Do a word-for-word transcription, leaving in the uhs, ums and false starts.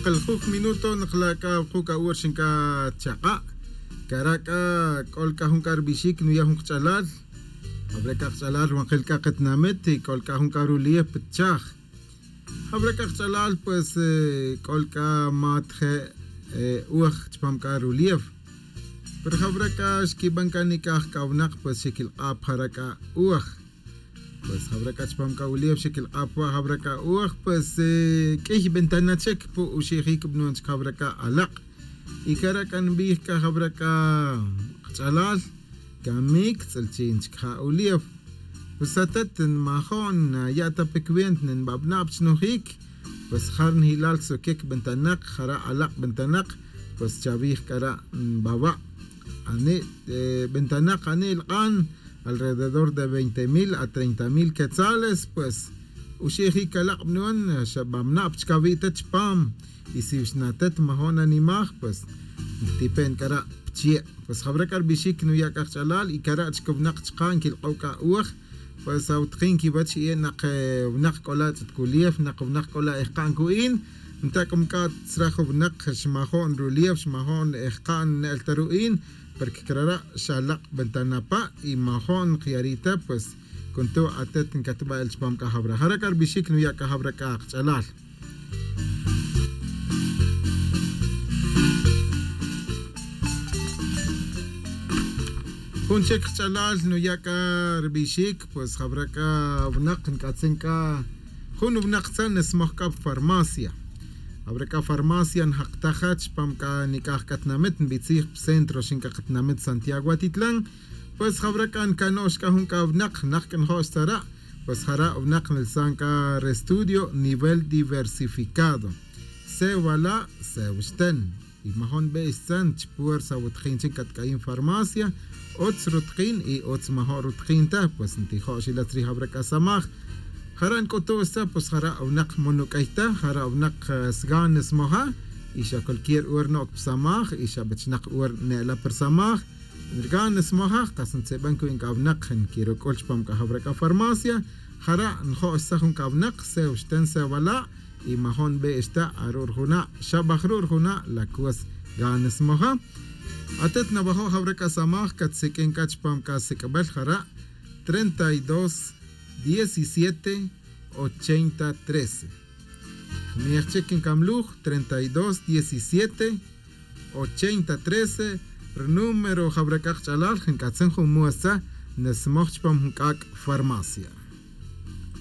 Q'aljuj minuto nqla' c'a wuku' c'a ur xin c'a chak'a'. Cara' c'a c'ol c'a jun c'a rbixic nuya' jun kach'alal. Jawra' c'a kach'alal wanjel c'a katinamit y c'ol c'a jun c'a rulief pa chaj. Jawra' c'a kach'alal pues c'ol c'a mat je' uj chupam c'a rulief. Pero jawra' c'a xquiban c'a nic'aj c'a winak pues xequilk'ap jara' c'a uj. Pues jawra' c'a chupam c'a ulief xequilk'ap wa' jawra' c'a uj pues q'uiy ventana chic pu uxejic bnuan chic jawra' c'a alak'. Y cara' c'a nbij c'a jawra' c'a kach'alal camic tz'ilchin chic ja ulief. Pues atet nmajo'n naya' ta pe cuenta nbabna'p chnojic. Pues jar nji'lal soquic ventanak jara' alak' ventanak. Pues chavij c'ara' nbawa'. Ani' ventanak ani' lk'an alrededor de veinte mil a treinta mil quetzales pues uxejic alak' bnuan xa bamna'p chic awi' ta chupam. Y si xnatet majo'n nanimaj pues ntipen c'ara' pchie'. Pues jawra' c'a rbixic nuya' c'a kach'alal y cara' chic winak chka' nquilk'ow c'a uj. Pues awutkin quiwech y e' nak winak c'ola' ch'ut culief nak winak c'ola' ejka'n cu'in. Nta' c'o mc'a' tzraj winak xmajo'n rulief xmajo'n ejka'n ne'el ta ru'in. Porque crara' xa lak' ventana pa' y majo'n kiyari' ta pues cunto' atet ncatba' el chupam c'a jawra' jara' c'a rbixic nuya' c'a jawra' c'a kach'alal. Jun chic kach'alal nuya' c'a rbixic pues jawra' c'a winak nc'atzin c'a jun winak tzan nsmoj c'a pa farmacia. Jawra' c'a farmacia njak ta ja chupam c'a nic'aj c'a tinamit nbitzij pa centro xin c'a katinamit santiago atitlan. Pues jawra' c'a ncano'x c'a jun c'a winak nak c'a njo'x tzara'. Pues jara' winak nlsan c'a restudio nivel diversificado. Sewa la' sewa xten. Y majo'n be' xtzan chi puersa awutkin chin catc'ayin farmacia. Utz rutkin y utz majo'n rutkin ta pues ntijo'x ila tzrij jawra' c'a samaj. Jara' nc'utu' xtza pues jara' winak mo nuc'ay ta jara' winak sgan smoja. Y xa cualquier ur no'c pa samaj y xa bechnak ur ne'la pa samaj. Rgan smoja kas ntz'iban cuwi' c'a winak nquiruc'ul chupam c'a jawra' c'a farmacia. Jara' njo' xtza jun c'a winak sew xten sew ala'. Y majo'n be' xta aru' rjuna' xabaj ru' rjuna' la cus gan smoja. Atet nawajo' jawra' c'a samaj catsiq'uin c'a chupam c'a sic'bel jara' treinta y dos diecisiete ochenta trece. Jmej chic ncamluj treinta y dos diecisiete ochenta trece. Rnúmero jawra' c'a kach'alal nc'atzin jun muestza. Nsmoj chupam jun c'ac' farmacia.